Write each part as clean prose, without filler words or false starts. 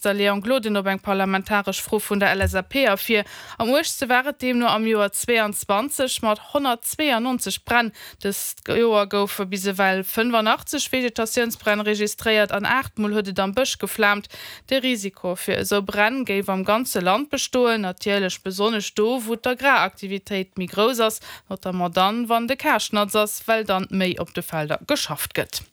Der Léon Gloden op eng parlamentaresch Fro vun der LSAP ervir. Am uergste war et deemno am Joer 22 mat 192 Bränn. Dëst Joer goufe bis ewell 85 Vegetatiounsbränn registréiert an 8 Mol huet et am Bësch geflaamt. De Risiko fir esou Bränn géif am ganze Land bestoen, natierlech besonnesch do, wou d'Agraraktivitéit méi grouss ass, notamment dann, wann de Kaascht natz ass, well dann méi op de Felder geschafft gëtt.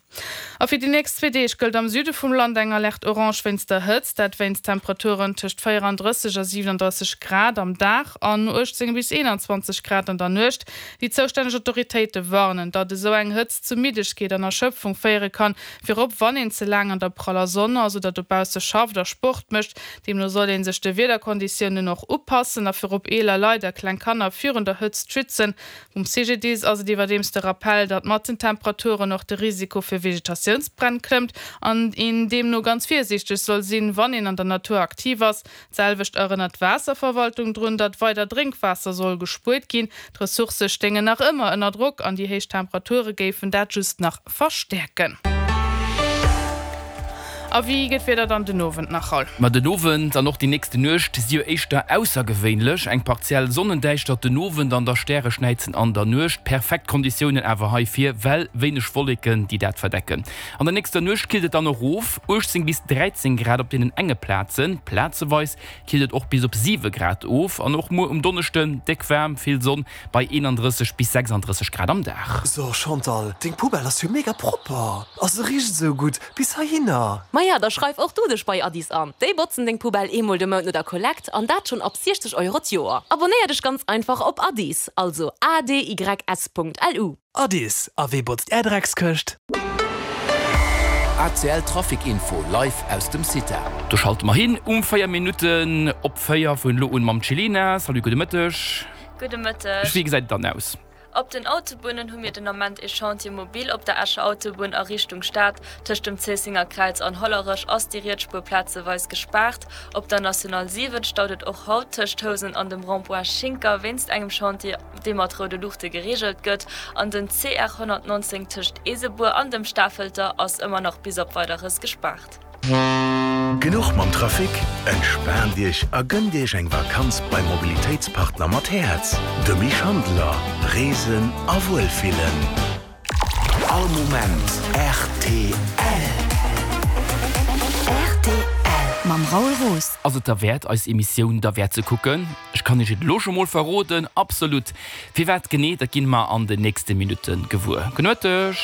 A fir déi nächst zwee Deeg gëllt am Süde vum Land eng Alerte orange wéinst der Hëtzt, dat wéinst Temperaturen tëscht 34 a 37 Grad am Dag an 18 bis 21 Grad an der Nuecht. Déi zoustänneg Autoritéite warnen, datt esou eng Hëtzt zu Middegkeet an Erschöpfung féiere kann, virop wann een ze laang an der praller Sonn ass oder dobausse schafft a Sport mécht. Deemno soll ee sech de Wiederkonditiounen och upassen a virop eeler Leit a kleng Kanner virun der Hëtzt schützen. Um CGDIS ass et iwwerdeems de Rappell, datt mat den Temperaturen och de Risiko fir Vegetatiounsbränn klëmmt an een deemno ganz virsiichteg soll sinn, wann een an der Natur aktiv ass. D'selwecht erënnert d'Waasserverwaltung drun, datt weider Drénkwaasser soll gespuert ginn. D'Ressourcë stéingen nach ëmmer ënner Drock an déi héich Temperature géifen dat just nach verstäerken. A wéi gëtt d'Wieder dann den Owend nach, Raoul? Ma den Owend an och déi nächste Nuecht si jo éischter aussergewéinlech. Eng partiell Sonnendäischtert den Owend an da Stäreschnäizen an der Nuecht. Perfekt Konditiounen awer heifir, well wéineg Wolleken, déi dat verdecken. An der nächster Nuecht killt et dann erof, 18 bis 13 Grad op deenen enge Plazen, plazeweis killt et och bis op 7 Grad of. An och muer um Donneschden déck waarm, vill Sonn bei 31 bis 36 Grad am Dag. So Chantal, deng Poubelle ass jo mega propper a se richt esou gutt bis heihinner. Maja, da schreif och du dech bei Addis an. Déi botzen deng Poubelle eemol de Mount no der Kollekt an dat schonn ab 60 Euro d'Joer. Abonnéier dech ganz einfach op Addis, also adys.lu. Addis, a wee botzt är Dreckskëscht? ACL Trafic Info live aus dem CITA. Do schalte mer hin um 4 Minutten op 4 vun elo un mam Celina. Salut, gudde Mëtteg. Gudde Mëtteg. Wéi gesäit et dann aus? Op den Autobunnen hu mir den Ament ee Chantier mobile op der Escher Autobunn a Richtung Stad. Tëscht dem Zéissenger Kräiz an Hollerech ass déi riets Spuer plazeweis gespaart. Op der National 7 staut et och haut tëscht Housen an dem Rond-point Schinker wéinst engem Chantier, dee mat roude Luuchte gereegelt gëtt. An den CR 119 tëscht Eesebuer an dem Stafelter ass ëmmer nach bis op Weideres gespaart. Genuch mam Trafic? Entspaant Iech a gënnt Iech eng Vakanz beim Mobilitéitspartner mat Häerz, dem Schandler. Reesen a Wuelfillen. All Moment rtl. Rtl mam Raoul Roos. Ass et derwäert eis Emissioun derwäert ze kucken? Ech kann Iech et elo scho mol verroden, absolut! Firwat genee, dat ginn mer an den nächste Minutte gewuer. Genueteg!